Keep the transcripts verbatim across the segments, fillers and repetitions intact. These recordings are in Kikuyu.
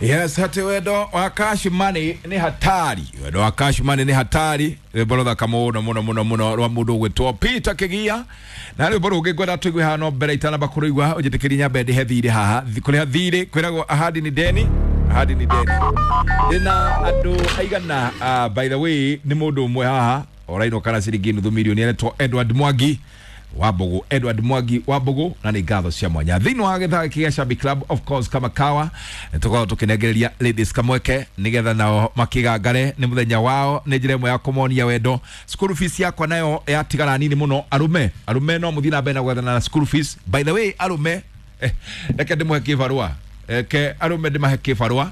Yes, hati wendo wa cash money ni hatari. Wendo wa cash money ni hatari. Rwimbo ruthaka muno muno muno muno rwa mundu ugwitwo Peter Kigia. Na rwimbo rũngĩ ngwenda tũigue haha no mbere itanamba kũrũigua ũnjĩtĩkĩrie nyambe ndĩhe thirĩ haha. Kũrĩha thirĩ kwĩragwo ahadi ni deni. Ahadi ni deni. Ndĩna andũ aigana, uh, by the way nĩ mũndũ ũmwe haha ũrainũka na ciringi nuthu milioni aretwo Edward Mwangi Wambugu, Edward Mwangi Wambugu, na nĩ ngatho cia mwanya thĩinĩ wa gĩthaa gĩkĩ gĩa Shabby Club. Of course kama kawa nĩtũkoragwo tũkĩnengereria ladies kamweke nĩgetha nao makĩgangare nĩ mũthenya wao, nĩ njĩra ĩmwe ya kũmonia wendo. School fees yakwa nayo yatigara nini mũno. Arũme, arũme no mũthiĩ na mbere na gwethana na school fees. By the way arũme, eh, reke ndĩmũhe kĩbarũa, reke arũme ndĩmahe kĩbarũa.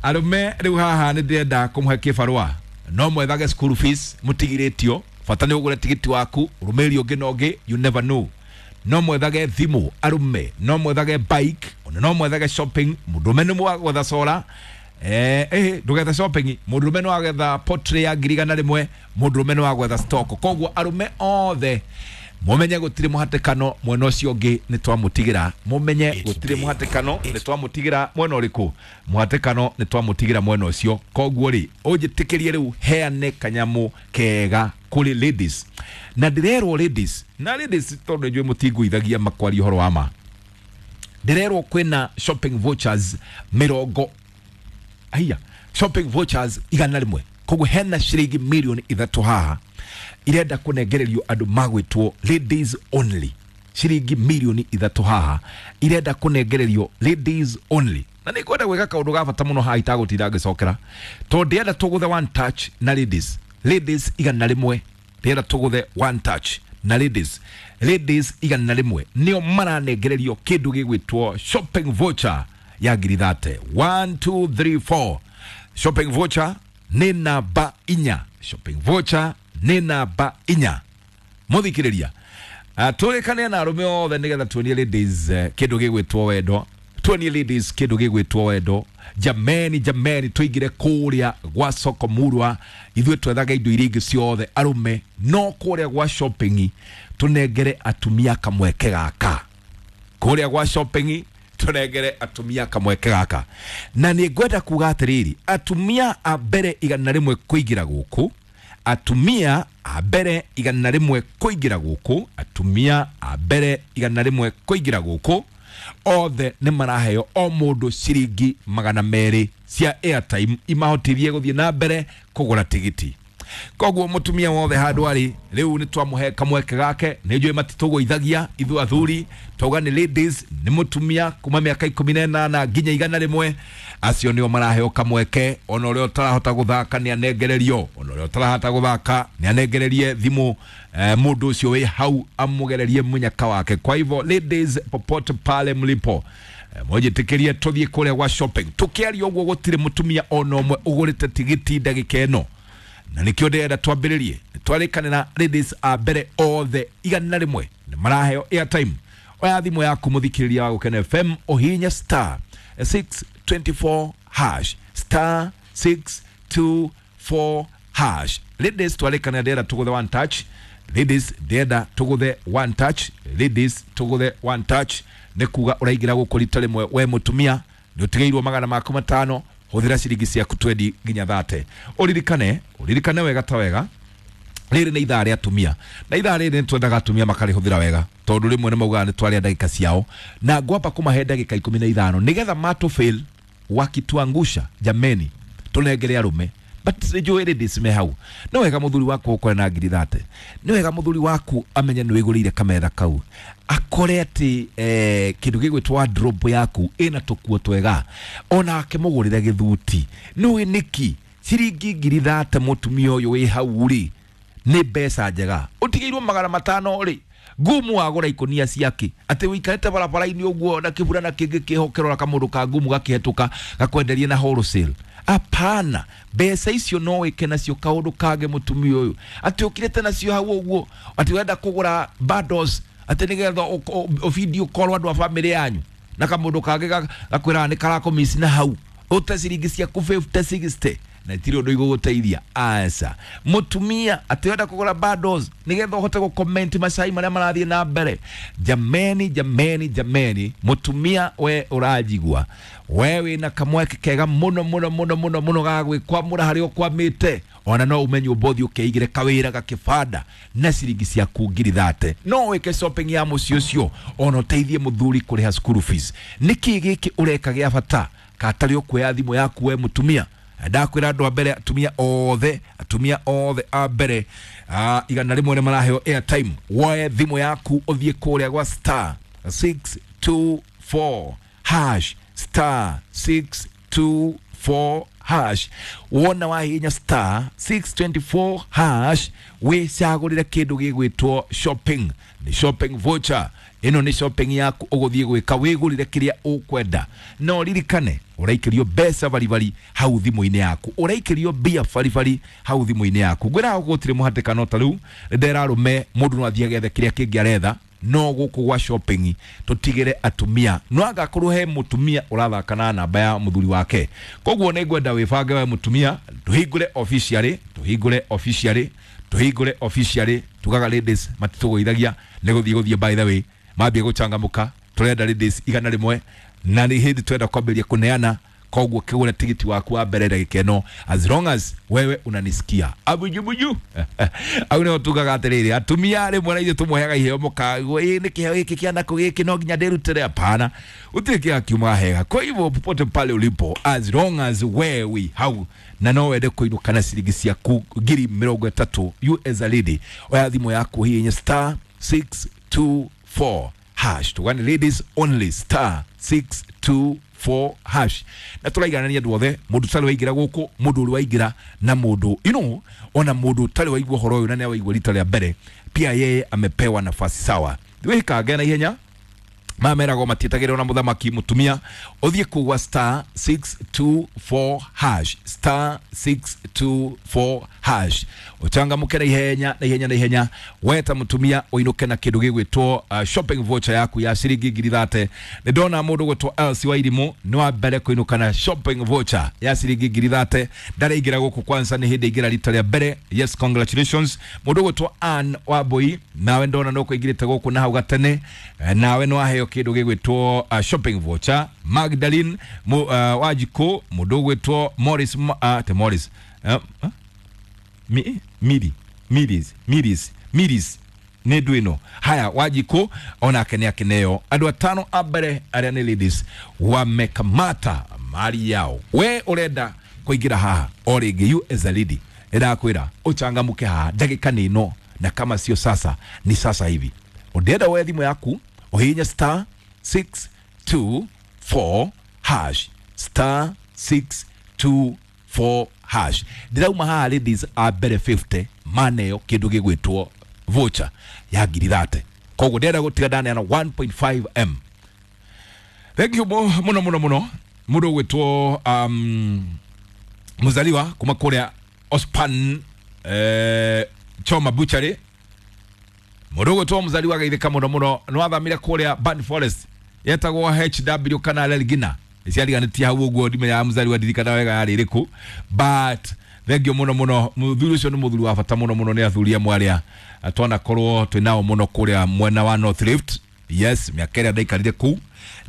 Arũme rĩu haha nĩ ndĩrenda kũmũhe kĩbarũa, no mwethage school fees mũtigirĩtio, bata nĩ ũgũre tigiti waku rũmĩrĩri ũngĩ na ũngĩ, you never know. No mwethage thimũ arũme, no mwethage bike, ona no mwethage shopping. Mũndũrũme nĩ mwagwetha solar, eh, eh, ndũgetha shopping. Mũndũrũme nĩ wagetha pottery ya ngiri igana rĩmwe, mũndũrũme nĩ wagwetha stock. Koguo arũme othe mumenye gũtirĩ mũhatĩkano mwena ũcio ũngĩ nĩ twamũtigĩra. Mumenye gũtirĩ mũhatĩkano nĩ twamũtigĩra mwena ũrĩkũ, mũhatĩkano nĩ twamũtigĩra mwena ũcio. Koguo rĩ, ũnjĩtĩkĩrie rĩu heane kanyamũ kega kũrĩ ladies. Na ndĩrerwo ladies, na ladies tondũ nĩnjũĩ mũtingũithagia makwaria ũhoro wa ma, ndĩrerwo kwĩna shopping vouchers mĩrongo aiya, shopping vouchers igana rĩmwe. Koguo hena ciringi milioni ithatũ haha irenda kũnengererio andũ magwĩtwo ladies only. Ciringi milioni ithatũ haha irenda kũnengererio ladies only. Na nĩ ngwenda gwĩka kaũndũ ga bata mũno haha itagũtinda ngĩcokera, tondũ ndĩrenda tũgũthe one touch na ladies. Ladies igana rĩmwe, ndĩrenda tũgũthe one touch na ladies. Ladies igana rĩmwe nĩo maranengererio kĩndũ gĩgwĩtwo shopping voucher ya ngiri thate. One, two, three, four. Shopping voucher nĩ namba inya. Shopping voucher nĩ namba inya. Mũthikĩrĩria, uh, tũrĩkane na arũme othe nĩgetha tuonie ladies uh, kĩndũ gĩgwĩtwo wendo. Tuonie ladies kĩndũ gĩgwĩtwo wendo. Jameni, jameni, tũingĩre kũrĩa gwa soko murwa, ithuĩ twethaga indo iria ingĩ ciothe arũme, no kũrĩa gwa shopping tũnengere atumia kamweke gaka. Kũrĩa gwa shopping tũnengere atumia kamweke gaka. Na nĩ ngwenda kuga atĩrĩrĩ, atumia a mbere igana rĩmwe kũingĩra gũkũ, atumia a mbere igana rĩmwe kũingĩra gũkũ, atumia a mbere igana rĩmwe kũingĩra gũkũ, othe nĩ maraheo o mũndũ ciringi magana merĩ cia airtime imahotithie gũthiĩ na mbere kũgũra tigiti. Koguo mũtumia wothe handũ arĩ rĩu nĩ twamũhe kamweke gake. Nĩ njũĩ matitũgũithagia ithuĩ athuri, twauga nĩ ladies, nĩ mũtumia kuma mĩaka ikũmi na ĩnana nginya igana rĩmwe, acio nĩo maraheo kamweke. Ona ũrĩa ũtarahota gũthaka nĩ anengererio, ona ũrĩa ũtarahota gũthaka nĩ anengererie thimũ, eh, mũndũ ũcio wĩ hau amũgererie mũnyaka wake. Kwa hivyo ladies, popote pale mlipo, mwenjĩtĩkĩrie tũthiĩ kũrĩa gwa shopping. Tũkĩaria ũguo gũtirĩ mũtumia ona ũmwe ũgũrĩte tigiti ndagĩka ĩno, na nĩkĩo ndĩrenda twambĩrĩrie. Twarĩkanĩra ladies a mbere othe igana rĩmwe nĩ maraheo airtime. Oya thimũ yaku mũthikĩrĩria wa Gũkena F M, ũhihinye star six twenty four hash, star six two four hash. Ladies, twarĩkanĩra ndĩrenda tũgũthe one touch. Ladies, ndĩrenda tũgũthe one touch. Ladies, tũgũthe one touch. Nĩ kuga ũraingĩra gũkũ rita rĩmwe we mũtumia, nĩ ũtigĩirwo magana maku matano, hũthĩra ciringi ciaku twendi nginya thate. Ũririkane, ũririkane wega ta wega, rĩrĩ nĩ ithaa rĩa atumia, na ithaa rĩrĩ nĩ twendaga atumia makarĩhũthĩra wega, tondũ rĩmwe nĩ maugaga nĩ twarĩa ndagĩka ciao, na ngwamba kũmahe ndagĩka ikũmi na ithano nĩgetha matũ fail wakituangusha, jameni tũnengere arũme. But nĩnjũĩ ladies me hau, nĩ wega mũthuri waku ũkore na ngiri thate, nĩ wega mũthuri waku amenye nĩ wĩgũrĩire kametha kau, akore atĩ eh, kĩndũ gĩgwĩtwo wardrobe yaku ĩna tũkuo twega, ona akĩmũgũrĩre gĩthuti. Nĩũĩ nĩkĩ ciringi ngiri thate mũtumia ũyũ wĩ hau rĩ nĩ mbeca njega, ũtigĩirwo magana matano rĩ, ngumu wagũra ikũnia ciake, atĩ ũikarĩte barabara-inĩ ũguo na kĩbura na kĩngĩ kĩho ũkĩrora kamũndũ ka ngumu gakĩhetũka gakwenderie na wholesale. Apana, mbeca icio no wĩke nacio kaũndũ kangĩ mũtumia ũyũ, atĩ ũkirĩte nacio hau ũguo, atĩ ũrenda kũgũra bundles atĩ nĩgetha ũvideo call andũ a bamĩrĩ yanyu, na kamũndũ kangĩ gakwĩraga nĩ karakũmiss na hau, ũte ciringi ciaku fifty sixty na itirĩ ũndũ igũgũteithia. Aca, mũtumia atĩ ũrenda kũgũra bundles nĩgetha ũhote gũcomment macai marĩa marathiĩ na mbere. Jameni, jameni, jameni, mũtumia we ũranjigua, we wĩna kamweke kega mũno mũno mũno mũno mũno ga gwĩkwamũra harĩa ũkwamĩte. Ona no ume nyũmba ũthiĩ ũkeigĩre kawĩra gakĩbanda na ciringi ciaku ngiri thate, no wĩke shopping ya mũciĩ ũcio, ona ũteithie mũthuri kũrĩha school fees. Nĩkĩ gĩkĩ ũreka gĩa bata katarĩ ũkuoya thimũ yaku we mũtumia? Ndakwĩra andũ a mbere, atumia othe, atumia othe a mbere ah, igana rĩmwe nĩ maraheo airtime. Woe thimũ yaku ũthiĩ kũrĩa gwa star six two four hash, star six two four hash. Wona wahihinya star six twenty four hash, wĩcagũrĩre kĩndũ gĩgwĩtwo shopping. Nĩ shopping voucher ĩno, nĩ shopping yaku ũgũthiĩ gwĩka wĩgũrĩre kĩrĩa ũkwenda. No ririkane ũraikĩrio mbeca baribari hau thimũ-inĩ yaku, ũraikĩrio mbia baribari hau thimũ-inĩ yaku. Ngwĩra gũtirĩ mũhatĩkano ta rĩu ndera arũme, mũndũ no athiĩ agethe kĩrĩa kĩngĩ aretha, no gũkũ gwa shopping tũtigĩre atumia. No agakorwo he mũtumia ũrathaka na namba ya mũthuri wake. Koguo nĩ ngwenda wĩbange we mũtumia, tũhingũre officially, tũhingũre officially, tũhingũre officially. Tugaga ladies matitũgũithagia nĩ gũthiĩ gũthiĩ, by the way mambie gũcangamũka. Tũrenda ladies igana rĩmwe na nĩ hĩndĩ twenda kwambĩrĩria kũneana. Koguo kĩgũre tigiti waku wa mbere ndagĩka ĩno, as long as wewe unanisikia abujubuju. Au nĩho tugaga atĩrĩrĩ, atumia rĩmwe na ithuĩ tũmũheaga iheo, mũkagwo ĩ nĩ kĩheo gĩkĩ kĩa nakũ gĩkĩ no nginya ndĩrutĩre. Hapana, gũtirĩ kĩheo kiumaga hega. Kwa hivyo popote pale ulipo, as long as wewe hau na no wende kũinũka na ciringi ciaku ngiri mĩrongo ĩtatũ, you as a lady, oya thimũ yaku hihinya star six two four hash. Tugani ladies only, star six two four hash. Na tũraiganania andũ othe, mũndũ ũtarĩ waingĩra gũkũ, mũndũ ũrĩ waingĩra, na mũndũ you know, ona mũndũ ũtarĩ waigua ũhoro ũyũ na nĩ waigua rita rĩa mbere, pia yeye amepewa nafasi sawa. Wĩkange na ihenya, mameragwo matietagĩrĩrwo na mũthamaki. Mũtumia ũthiĩ kũgwa star six two four hash, star six two four hash, ũchangamũke na ihenya na ihenya na ihenya. Weta mũtumia ũinũke na kĩndũ gĩgwĩtwo uh, shopping voucher yaku ya ciringi ngiri thate. Nĩ ndona mũndũ gwĩtwo Elsie Wairimũ nĩ wa mbere kũinũka na shopping voucher ya ciringi ngiri thate. Ndaraingĩra gũkũ kwanza, nĩ hĩndĩ aingĩra rita rĩa mbere. Yes, congratulations. Mũndũ gwĩtwo Ann Wambui, nawe ndona no kũingĩrĩte gũkũ na hau gatene, nawe nĩ waheo kĩndũ gĩgwĩtwo uh, shopping voucher. Magdalene mu, uh, Wajiko, mũndũ ũgwĩtwo Morris, uh, te Morris uh, uh, mi, Miri Miris Miris Miris nĩ ndũ ĩno haya. Wajiko onake nĩ akeneo. Andũ atano a mbere arĩa nĩ ladies wamekamata mali yao. We ũrenda kũingĩra haha o rĩngĩ, you as a lady, nĩndakwĩra ũchangamũke haha, ndagĩka nĩ ĩno, na kama sio sasa ni sasa hivi. Ũndĩenda woe thimũ yaku ũhihinye star six two four hash, star six two four hash. Ndĩrauma haha ladies a mbere fifty maneo kĩndũ gĩgwĩtwo voucher ya ngiri thate. Koguo ndĩrenda gũtiga ndaneana one point five m. Thank you mũno mũno mũno mũndũ ũgwĩtwo um, Muzaliwa kuma kũrĩa Ospan eh, Choma Butchery. Mũndũ ũgwĩtwo Muzaliwa geithĩka mũno mũno, nĩ wathamire kũrĩa Ban Forest yetagwo H W kana Lelgina, ciariganĩtie hau ũguo, ndimenyaga Muzaliwa ndirikana wega yarĩ ĩrĩkũ, but thengio mũno mũno. Mũthuri ũcio nĩ mũthuri wa bata mũno mũno, nĩ athuri amwe arĩa twanakorwo twĩ nao mũno kũrĩa mwena wa North Rift. Yes, mĩaka ĩrĩa ndaikarire kũu,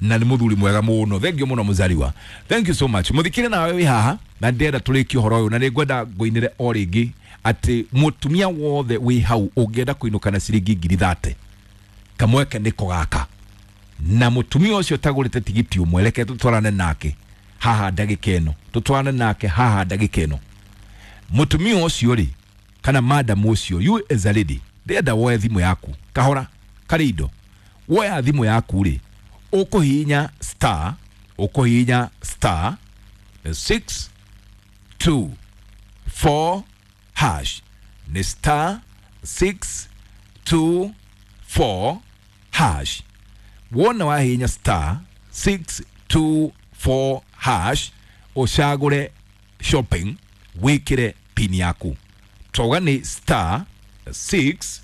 na nĩ mũthuri mwega mũno. Thengio mũno Muzaliwa, thank you so much. Mũthikire nawe wĩ haha na ndĩrenda tũrĩkie ũhoro ũyũ, na nĩ ngwenda ngũinĩre o rĩngĩ atĩ mũtumia wothe wĩ hau ũngĩenda kũinũka na ciringi ngiri thate, kamweke nĩko gaka. Na mũtumia ũcio ũtagũrĩte tigiti ũmwe, reke tũtwarane nake haha ndagĩka ĩno, tũtwarane nake haha ndagĩka ĩno. Mũtumia ũcio rĩ, kana madam ũcio, you as a lady, ndĩrenda woe thimũ yaku kahora karĩ indo. Woya thimũ yaku rĩ, ũkũhihinya star, ũkũhihinya star six two four hash, nĩ star six two four hash. Wona wahihinya star six two four hash, ũcagũre shopping, wĩkĩre pin yaku. Twauga nĩ star six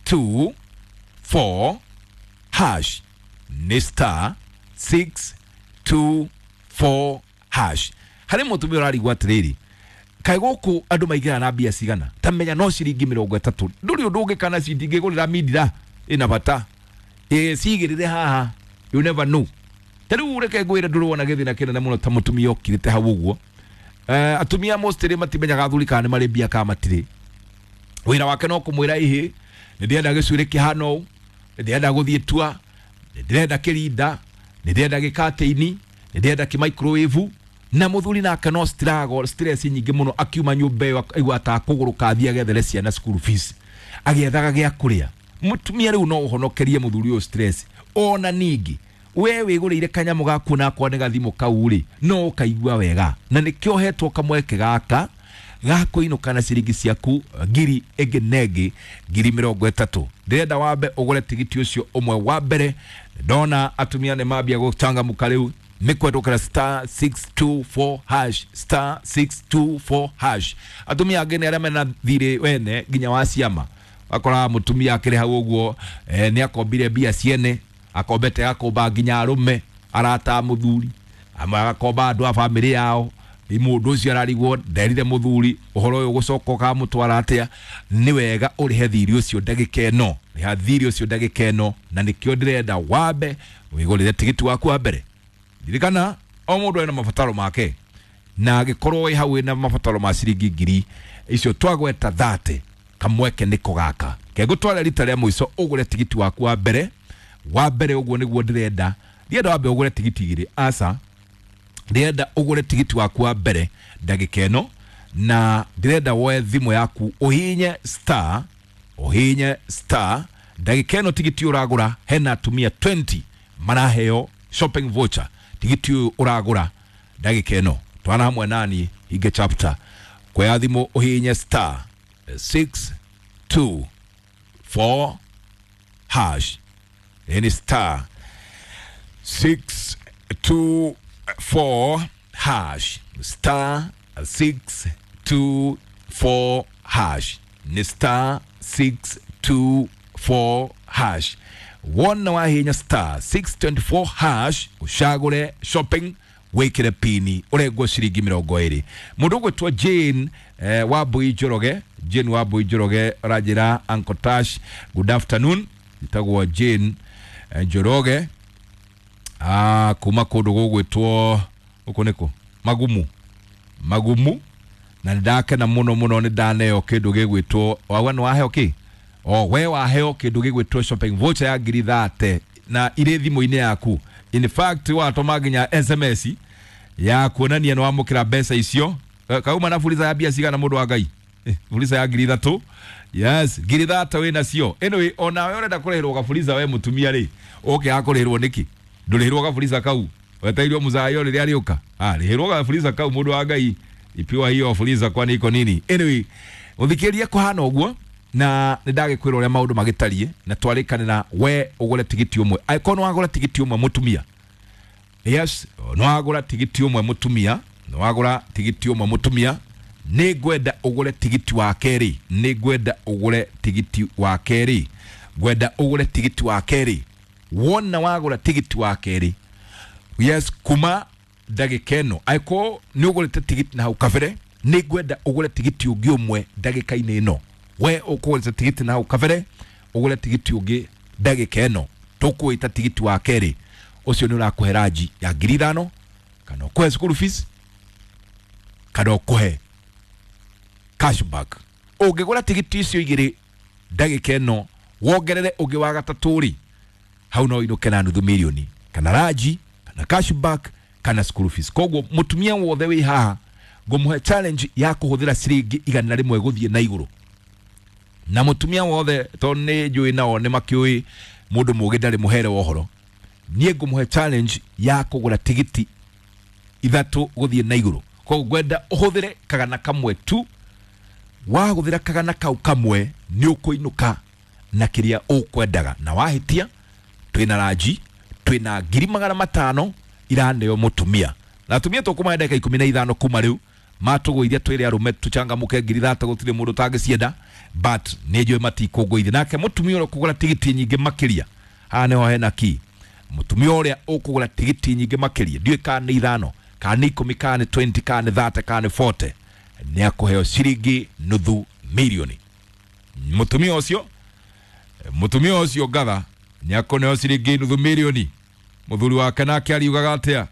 two four hash, nĩ star six two four hash. Harĩ mũtumia ũrarigwo atĩrĩrĩ, Kaĩ gũkũ andũ maigĩra na mbia cigana ta menya no ciringi mĩrongo ĩtatũ ndũrĩ ũndũ ũngĩ kana cindingĩgũrĩra mindira ĩna bata ĩ cigĩrĩre haha, you never know. Ta rĩu reke ngwĩre ndũrona gĩthĩna kĩnene mũno ta mũtumia ũkirĩte hau ũguo. Eh, atumia mostly matimenyaga athuri kana nĩ marĩ mbia kana matirĩ. Wĩra wake no kũmwĩra ihĩ nĩ ndĩrenda gĩcuĩrĩ kĩhana ũũ, nĩ ndĩrenda gũthiĩ tua, nĩ ndĩrenda kĩrinda, nĩ ndĩrenda gĩkatĩini, nĩ ndĩrenda kĩmicrowave. Na mũthuri nake no struggle, stress nyingĩ mũno akiuma nyũmba ĩyo aigua ta kũgũrũka athiĩ agethere ciana school fees agĩethaga gĩa kũrĩa. Mũtumia rĩu no ũhonokerie mũthuri ũyũ stress. Ona ningĩ we wĩgũrĩire kanyamũ gaku nakwa nĩ gathimũ kau rĩ no ũkaigua wega, na nĩkĩo hetwo kamweke gaka ga kũinũka na ciringi ciaku ngiri ĩngĩ na ĩngĩ ngiri mĩrongo ĩtatũ. Ndĩrenda wambe ũgũre tigiti ũcio ũmwe wa mbere. Ndona atumia nĩ mambia gũcangamũka rĩu nĩ kwendũkĩra star six two four hash, star six two four hash. Atumia angĩ nĩ arĩa mena thirĩ wene nginya wa ciama, wakoraga mũtumia akĩrĩ hau ũguo, eh, nĩ akombire mbia ciene, akombete agakomba nginya arũme arata a mũthuri, amwe agakomba andũ a bamĩrĩ yao. Mũndũ ũcio ararigwo nderire mũthuri ũhoro ũyũ gũcoka ũkamũtwara atĩa. Nĩ wega ũrĩhe thirĩ ũcio ndagĩka ĩno, rĩha thirĩ ũcio ndagĩka ĩno, na nĩkĩo ndĩrenda wambe wĩgũrĩre tigiti waku wa mbere. Ririkana o mũndũ ena mabataro make, na angĩkorwo wĩ hau wĩna mabataro ma ciringi ngiri icio twagweta thate, kamweke nĩko gaka kegũtwara rita rĩa mũico ũgũre tigiti waku wa mbere. Wa mbere ũguo nĩguo ndĩrenda, ndienda wambe ũgũre tigiti igĩrĩ, aca, ndĩrenda ũgũre tigiti waku wa mbere ndagĩka ĩno, na ndĩrenda woe thimũ yaku ũhihinye star, ũhihinye star ndagĩka ĩno. Tigiti ũragũra hena atumia twenty maraheo shopping voucher. Tigiti ũyũ ũragũra ndagĩka ĩno twana hamwe nani hinge chapter kuoya thimũ ũhihinye star six two four hash. Ni star six two four hash, star six two four hash, ni star six two four hash. Wona wahinya star six twenty four hash ucagũre shopping wĩkĩre pini ũrengwo ciringi mĩrongo ĩrĩ. Mũndũ ũgwĩtwo Jane eh, Wambui Njoroge, Jane Wambui Njoroge aranjĩra Uncle Tash good afternoon. Njĩtagwo Jane eh, Njoroge ah, kuma kũndũ gũgwĩtwo gũkũ nĩkũ Magumu, Magumu, na nĩndakena mũno mũno nĩ ndaneo kĩndũ gĩgwĩtwo wauga nĩ waheo kĩ o we waheo kĩndũ gĩgwĩtwo shopping voucher ya ngiri thate na irĩ thimũ-inĩ yaku. In fact watũma nginya S M S ya kuonania nĩ wamũkĩra mbeca icio. Kauma na fuliza ya mbia cigana mũndũ wa Ngai? Eh, fuliza ya ngiri ithatũ. Yes, ngiri ithatũ wĩ nacio. Anyway, ona we ũrenda kũrĩhĩrwo gafuliza we mũtumia rĩ, ũke akũrĩhĩrwo nĩkĩ? Ndũrĩhĩrwo gafuliza kau wetereirwo mũzayo rĩrĩa arĩũka. Ah, rĩhĩrwo gafuliza kau mũndũ wa Ngai, ipiwa hiyo fuliza kwani iko nini? Anyway, ũthikĩrĩrie kũhana ũguo na nĩ ndagĩkwĩra ũrĩa maũndũ magĩtariĩ na twarĩkanĩra we ũgũre tigiti ũmwe. Angĩkorwo nĩ wagũra tigiti ũmwe mũtumia, yes, nĩ wagũra tigiti ũmwe mũtumia, nĩ wagũra tigiti ũmwe mũtumia, nĩ ngwenda ũgũre tigiti wa kerĩ, nĩ ngwenda ũgũre tigiti wa kerĩ, ngwenda ũgũre tigiti wa kerĩ. Wona wagũra tigiti wa kerĩ, yes, kuma ndagĩka ĩno, angĩkorwo nĩ ũgũrĩte tigiti na hau kabere, nĩ ngwenda ũgũre tigiti ũngĩ ũmwe ndagĩka-inĩ ĩno. We ũkũgũrĩte tigiti na hau kabere, ũgũre tigiti ũngĩ ndagĩka ĩno, tũkũwĩta tigiti wa kerĩ. Ũcio nĩ ũrakũhe ranji ya ngiri ithano, kana ũkũhe school fees, kana ũkũhe cashback. Ũngĩgũra tigiti icio igĩrĩ ndagĩka ĩno, wongerere ũngĩ wa gatatũ rĩ, hau no ũinũke na nuthu mirioni, kana ranji, kana cashback, kana school fees. Koguo mũtumia wothe wĩ haha ngũmũhe challenge ya kũhũthĩra ciringi igana rĩmwe gũthiĩ na igũrũ. Na mũtumia wothe tondũ nĩ njũĩ nao nĩ makĩũĩ mũndũ mũũgĩ ndarĩ mũhere wa ũhoro, niĩ ngũmũhe challenge ya kũgũra tigiti ithatũ gũthiĩ na igũrũ. Koguo ngwenda ũhũthĩre kagana kamwe tu, wahũthĩra kagana kau kamwe nĩ ũkũinũka na kĩrĩa ũkwendaga. Na wahĩtia twĩna ranji, twĩna ngiri magana matano iraneo mũtumia. Na atumia tũkũmahe ndagĩka ikũmi na ithano kuma rĩu matũgũithia twĩre arũme tũcangamũke ngiri ithatũ gũtirĩ mũndũ ũtangĩcienda, but nĩ njũĩ matikũngũithia. Nake mũtumia ũrĩa ũkũgũra tigiti nyingĩ makĩria, haha nĩho hena key, mũtumia ũrĩa ũkũgũra tigiti nyingĩ makĩria, ndiũĩ kana nĩ ithano, kana nĩ ikũmi, kana nĩ twenty, kana nĩ thirty, kana nĩ forty, nĩ akũheo ciringi nuthu milioni. Mũtumia ũcio mũtumia ũcio ngatha nĩ akũneo ciringi nuthu milioni. Mũthuri wake nake ariugaga atĩa?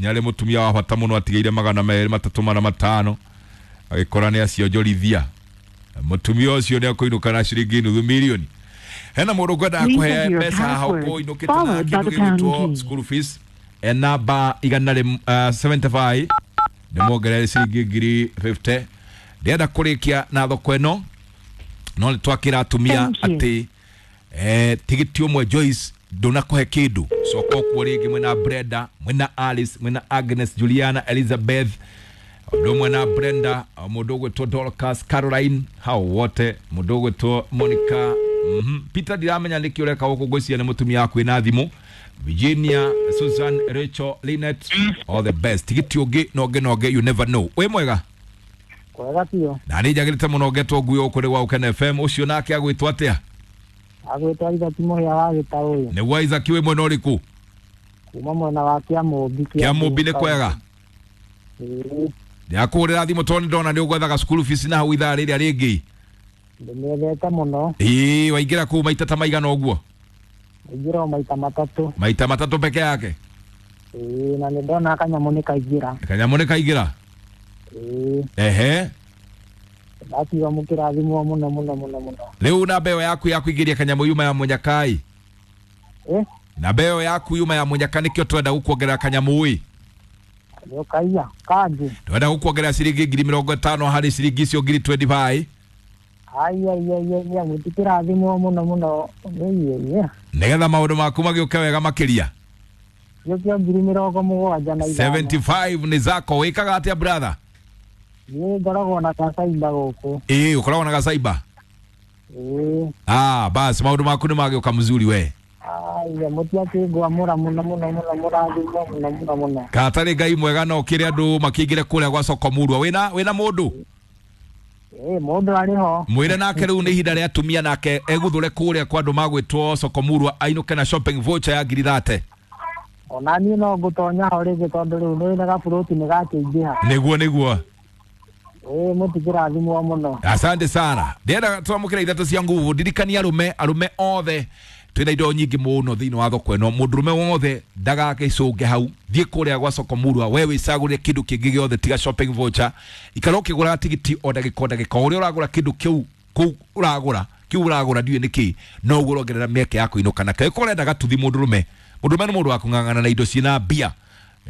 Nĩ arĩ mũtumia wa bata mũno, atigĩire magana merĩ matatũ mana matano, agĩkora nĩ acionjorithia. Mũtumia ũcio nĩ akũinũka na ciringi nuthu milioni. Hena mũndũ ngwendaga kũhe mbeca haha ũkũinũkĩte na kĩndũ gĩgwĩtwo school fees, e namba igana rĩ seventy five, nĩ muongerere ciringi ngiri fifty. Ndĩrenda kũrĩkia na thoko ĩno, no nĩ twakĩra atumia atĩ eh, tigiti ũmwe Joyce ndũnakũhe kĩndũ. Coka ũkuo rĩngĩ mwĩna Brenda, mwĩna Alice, mwĩna Agnes, Juliana, Elizabeth, ũndũ ũmwe na Brenda, mũndũ ũgwĩtwo Dorcas, Caroline, hao wote, mũndũ ũgwĩtwo Monica. mm -hmm. Peter ndiramenya nĩkĩ ũreka gũkũ, ngwĩciria nĩ mũtumia waku wĩna thimũ. Virginia, Susan, Rachel, Lynette, all the best. Tigiti ũngĩ na ũngĩ na ũngĩ, you never know. Wĩ mwega? Kwega biũ. Na nĩ njagĩrĩte mũno ngetwo ngui gũkũ nĩ gwa Ũkene F M. Ũcio nake agwĩtwo atĩa? Agwĩtwo Isaac Mũhĩa wa Gĩtaũ. Nĩguo Isaac, wĩ mwena ũrĩkũ? Kuma mwena wa Kĩamũmbi. Kĩamũmbi nĩ kwega? Ndĩrakũhũrĩra thimũ tondũ nĩndona nĩ ũgwethaga school fees na hau ithaa rĩrĩa rĩngĩ. Ndĩmĩethete mũno. Ĩĩ, waingĩra kũu maita ta maigana ũguo? Waingĩra o maita matatũ. Maita matatũ peke yake? Ĩĩ, na nĩndona kanyamũ nĩ kaingĩra. Kanyamũ nĩ kaingĩra? Ĩĩ. Ehe. Ndakiuga mũkĩrathimwo mũno mũno mũno mũno. Rĩu namba ĩyo yaku ya kũingĩria kanyamũ yuma ya Mũnyakai? Eh? Namba ĩyo yaku yuma ya Mũnyaka nĩkĩo twenda gũkuongerera kanyamũ ĩ? Nĩũkaiya kanjĩ. Twenda gũkuongerera ciringi ngiri mĩrongo ĩtano harĩ ciringi icio ngiri twenty five. Ai ai ai ai, mũtikĩrathimwo mũno mũno. Ĩĩ. Nĩgetha maũndũ maku magĩũke wega makĩria. Gĩũkio ngiri mĩrongo mũgwanja na ithano. seventy five nĩ zako. Wĩkaga atĩa brother? Niĩ ngoragwo na gacaimba gũkũ. Ĩĩ, ũkoragwo na gacaimba? Ĩĩ. Ah, basi maũndũ maku nĩ magĩũka mzuri we. Aiya, mũtiakĩngwamũra mũno mũno mũno, mũrathimwo mũno mũno mũno. Katarĩ Ngai mwega no ũkĩre andũ makĩingĩre kũrĩa gwa soko Murwa. Wĩna wĩna mũndũ? Ĩĩ, mũndũ arĩ ho. Mwĩre nake rĩu nĩ ihinda rĩa atumia nake egũthũre kũrĩa kwa andũ magwĩtwo soko Murwa ainũke na shopping voucher ya ngiri thate. Ona niĩ no ngũtonya ho rĩngĩ tondũ rĩu nĩ na gaburoti nĩ gakĩingĩha. Nĩguo nĩguo. Ĩĩ, mũtikĩrathimwo mũno. Asante sana. Ndĩrenda twamũkĩra ithatũ cia nguvu. Ndirikania arũme, arũme othe twĩna indo nyingĩ mũno thĩinĩ wa thoko ĩno. Mũndũrũme wothe ndagagĩcũnge hau, thiĩ kũrĩa gwa soko Murwa, we wĩcagũrĩre kĩndũ kĩngĩ gĩothe tiga shopping voucher. Ikara ũkĩgũraga tigiti o ndagĩka o ndagĩka, o ũrĩa ũragũra kĩndũ kĩu kũu ũragũra kĩu ũragũra ndiũĩ nĩkĩ, noguo ũrongerera mĩeke ya kũinũka nakĩo. Ĩkorwo ũrenda gatuthi mũndũrũme, mũndũrũme nĩ mũndũ wa kũng'ang'ana na indo ciĩna mbia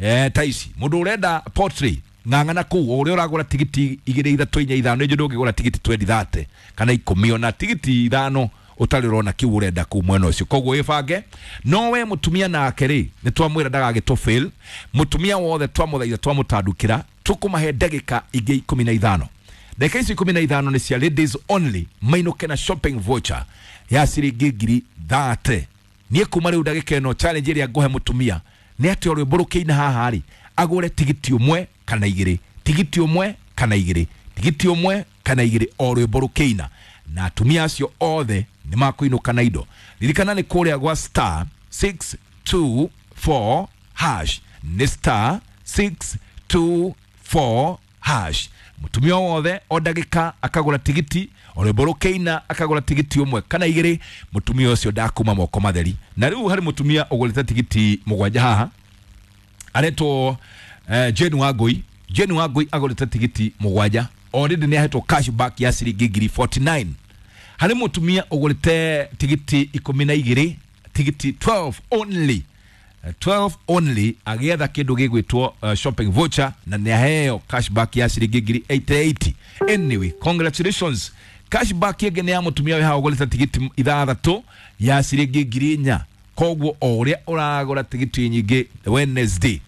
eh, ta ici. Mũndũ ũrenda pottery, ng'ang'ana kũu, o ũrĩa ũragũra tigiti igĩrĩ ithatũ inya ithano, nĩnjũĩ ndũngĩgũra tigiti twenty thirty kana ikũmi, ona tigiti ithano ũtarĩ ũrona kĩu ũrenda kũu mwena ũcio. Koguo wĩbange. No we mũtumia nake rĩ, nĩ twamwĩra ndagagĩtũ fail. Mũtumia wothe twamũthaitha twamũtandũkĩra, tũkũmahe ndagĩka ingĩ ikũmi na ithano. Ndagĩka icio ikũmi na ithano nĩ cia ladies only, mainũke na shopping voucher ya ciringi ngiri thate. Niĩ kuma rĩu ndagĩka ĩno challenge ĩrĩa ngũhe mũtumia nĩ atĩ o rwĩmbo rũkĩina haha rĩ, agũre tigiti ũmwe kana igĩrĩ, tigiti ũmwe kana igĩrĩ, tigiti ũmwe kana igĩrĩ, o rwĩmbo rũkĩina, na atumia acio othe nĩ makũinũka na indo. Ririkana nĩ kũrĩa gwa star six two four hash, nĩ star six two four hash. Mũtumia wothe o ndagĩka akagũra tigiti, o rwĩmbo rũkĩina akagũra tigiti ũmwe kana igĩrĩ, mũtumia ũcio ndakuma moko matheri. Na rĩu harĩ mũtumia ũgũrĩte tigiti mũgwanja haha, aretwo eh, Jane Wangui. Jane Wangui agũrĩte tigiti mũgwanja, already nĩ ahetwo cashback ya ciringi ngiri forty nine. Harĩ mũtumia ũgũrĩte tigiti ikũmi na igĩrĩ, tigiti twelve only, twelve only, agĩetha kĩndũ gĩgwĩtwo uh, shopping voucher, na nĩ aheo cashback ya ciringi ngiri eighty eight. Anyway, congratulations. Cashback ĩngĩ nĩ ya mũtumia wĩ haha ũgũrĩte tigiti ithathatũ ya ciringi ngiri inya. Koguo o ũrĩa ũragũra tigiti nyingĩ Wednesday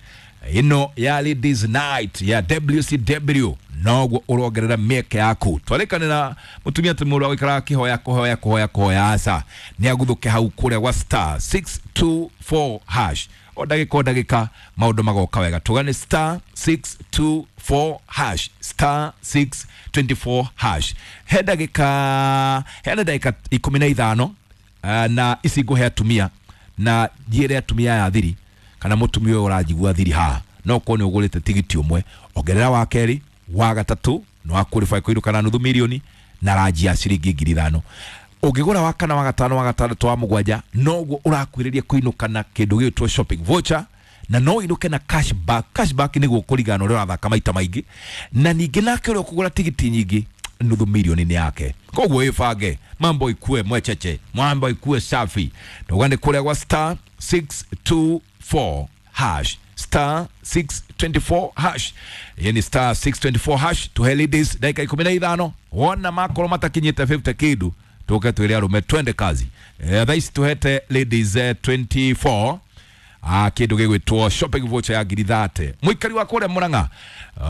ĩno ya ladies night ya W C W, noguo ũrongerera mĩeke yaku. Twarĩkanĩra mũtumia atĩ mũndũ agũikaraga akĩhoya kũhoya kũhoya kũhoya, aca nĩ aguthũke hau kũrĩa gwa star six two four hash. O ndagĩka o ndagĩka maũndũ magoka wega. Tũgane star six two four hash, star six twenty four hash. He ndagĩka, he ndagĩka ikũmi na ithano, na ici ngũhe atumia na njĩre atumia aya thiri, kana mũtumia ũyũ ũranjigua thiri haha, no korwo nĩ ũgũrĩte tigiti ũmwe, ongerera wa kerĩ, Wa gatatu no qualify kuiruka na nuthu milioni na ranji ya ciringi ngiri ithano. Ũngĩgũra wa kana wa gatano wa gatandatũ wa mũgwanja noguo ũrakuhĩrĩria kũinũka na kĩndũ gĩgwĩtwo shopping voucher, na no ũinũke na cashback. Cashback nĩguo kũringana na ũrĩa ũrathaka maita maingĩ, na ningĩ nake ũrĩa ũkũgũra tigiti nyingĩ nuthu milioni nĩ yake. Koguo ĩbange mambo ikue mwecheche, mambo ikue safi. Ndauga nĩ kũrĩa gwa star six two four hash, star six twenty-four hash, yani star six twenty-four hash. Tuhe ladies dakika ikumi na ithano, wona makorwo matakinyĩte fifty kĩndũ tuke twĩre arũme twende kazi. Eh, thaa ici tuhete ladies eh, twenty-four ah kindu gigwitwo shopping voucher ya ngiri thate. Muikari wa kuria Murang'a,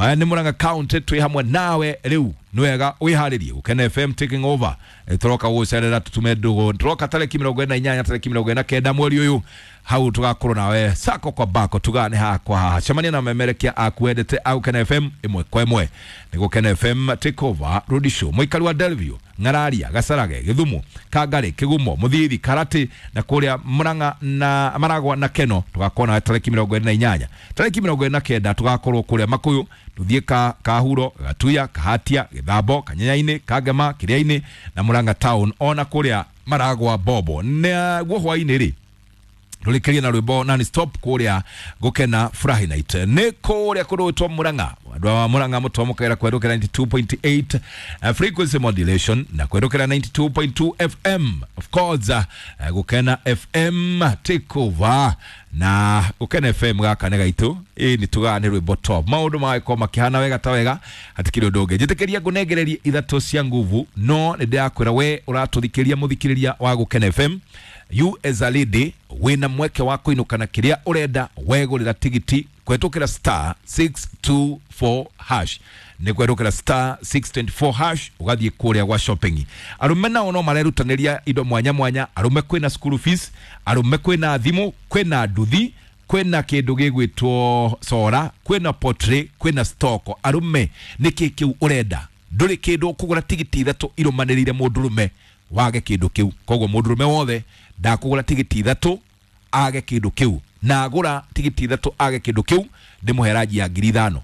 eh, ni Murang'a county twi hamwe nawe riu ni wega wiharirie Gukena F M taking over. E, turoka gucerera tutume ndugu, turoka tariki mirongo ina inyanya tariki mirongo ina kenda mweri uyu hau tugakorwo nawe sako kwa bako tugane hakwa haha cemania na memerekia akwendete au Gukena F M imwe kwa imwe. Ni Gukena F M take over road show. Muikari wa Delview, Ng'araria, Gacarage, Githumo, Kangari, Kigumo, Muthithi, Karati na kuria Murang'a na Maragwa na Keno tugakorwo nawe tariki mirongo ina inyanya tariki mirongo ina kenda tugakorwo kuria Makuyu tuthie ka Kahuro, Gatuya, Kahatia, Githambo, Kanyenyaini, Kangema, Kiriaini na Murang'a town ona kuria Maragwa Bobo. Naguo hwaini ri rurikirie na rwimbo non stop kuria Gukena Furahi Night ni kuria kurutwo Murang'a. Andu a Murang'a mutwamukira kwerukira ninety-two point eight uh, frequency modulation na kwerukira ninety-two point two F M of course, uh, Gukena F M take over na Gukena F M gaka nĩ gaitu ĩ nĩ tugaga nĩ rwimbo top. Maũndũ magagĩkorwo makĩhana wega ta wega hatikĩrĩ ũndũ ũngĩ. Njĩtĩkĩria ngũnengererie ithatũ cia nguvu, no nĩ ndĩrakwĩra we ũratũthikĩria mũthikĩrĩria wa Gukena F M, you as a lady wina mweke wa kuinuka na kiria urenda wegurira tigiti kwetukira star six two four hash, ni kwetukira star six twenty-four hash ugathie kuria gwa shopping. Arume nao no marerutaniria indo mwanya mwanya. Arume kwina school fees, arume kwina thimu, kwina nduthi, kwina kindu gigwitwo sora, kwina pottery, kwina stock. Arume niki kiu urenda? Nduri kindu ukugura tigiti ithatu irumanirire mundurume wage kindu kiu. Koguo mundurume wothe ndakugura tigiti ithatu age kindu kiu, na agura tigiti ithatu age kindu kiu ndimuhe ranji ya ngiri ithano.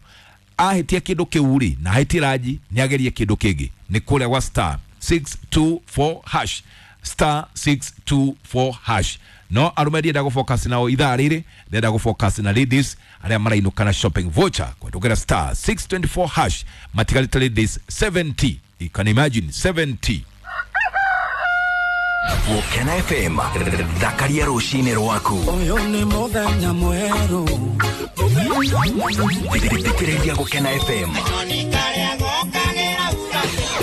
Ahitia kindu kiu ri na ahitie ranji ni agerie kindu kingi. Ni kuria gwa star six two four hash, star six two four hash. No arume ndienda gå focus nao ithaa riri, ndenda gå focus na ladies aria marainuka na shopping voucher kwetukira star six twenty-four hash. Matigarite ladies seventy, you can imagine seventy. Gukena F M thakaria rucini rwaku. Uyu ni muthenya mweru. Thikĩrĩria Gukena F M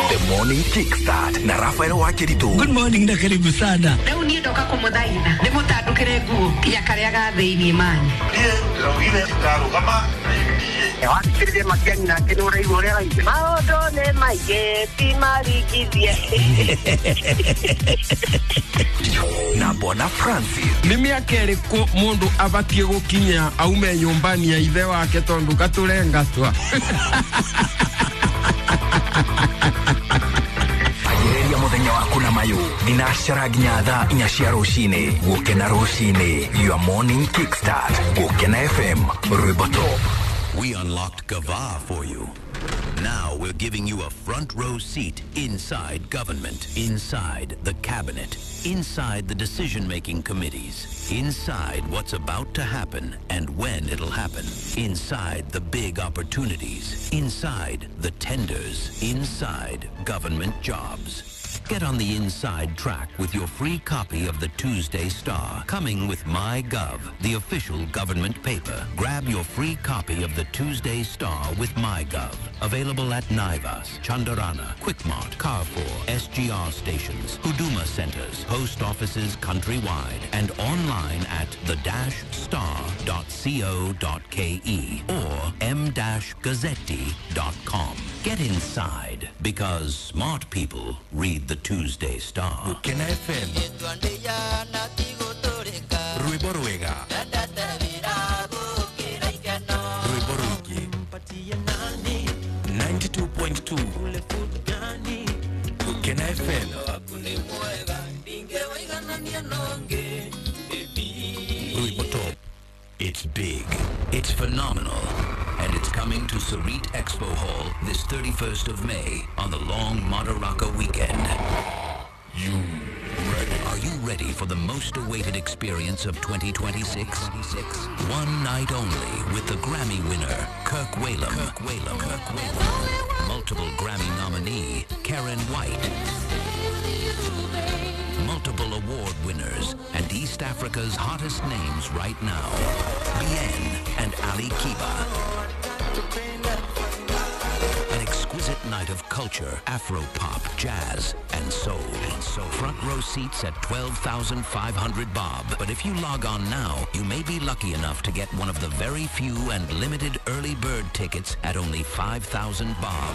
The Morning Kickstart na Rafael Wakiritu. Good morning na karibu sana. Rĩu niĩ ndoka kũmũthaitha ndĩmũtandũkĩre nguo nginya karĩa ga thĩinĩ mani. Niĩ ndĩraugire ndarũgama wathikĩrĩria Matiang'i nake nĩ ũraigua ũrĩa araigua. Maũndũ nĩ maingĩ ti maringithie. Na Bwana Francis. Nĩ mĩaka ĩrĩkũ mũndũ abatiĩ gũkinya aume nyũmbani ya ithe wake tondũ gatũrengatwa? Anjĩrĩria mũthenya waku na mayũ thinacara nginya thaa inya cia rũcinĩ. Gũkena rũcinĩ, your morning kickstart. Gũkena F M, rwĩmbo top. We unlocked Gava for you. Now we're giving you a front row seat inside government, inside the cabinet, inside the decision-making committees, inside what's about to happen and when it'll happen, inside the big opportunities, inside the tenders, inside government jobs. Get on the inside track with your free copy of the Tuesday Star, coming with MyGov, the official government paper. Grab your free copy of the Tuesday Star with MyGov. Available at Naivas, Chandarana, Quickmart, Carrefour, S G R stations, Huduma centers, post offices countrywide, and online at the dash star dot co dot ke or m dash gazzetti dot com. Get inside, because smart people read the Tuesday Star. Gukena F M. Rwimbo rwega. Rwimbo rwingĩ. ninety-two point two. Gukena F M. Rwimbo top. It's big, it's phenomenal, and it's It's coming to Sarit Expo Hall this thirty-first of May on the long Madaraka weekend. You ready? Are you ready for the most awaited experience of twenty twenty-six? One night only with the Grammy winner, Kirk Whalum. Kirk Whalum. Kirk Whalum. Multiple Grammy nominee, Karen White. Multiple award winners and East Africa's hottest names right now, Bien and Ali Kiba. An exquisite night of culture, Afro-pop, jazz, and soul. So front row seats at twelve thousand five hundred bob. But if you log on now, you may be lucky enough to get one of the very few and limited early bird tickets at only five thousand bob.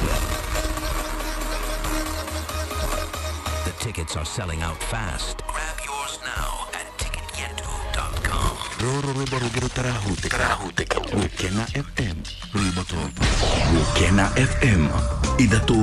The tickets are selling out fast. Grab yours now at ticket yetu dot com. Rũrũ rwĩmbo rũngĩ rũtarahutĩka. Gũkena F M rwĩmbo tondũ Gũkena F M ithatũ.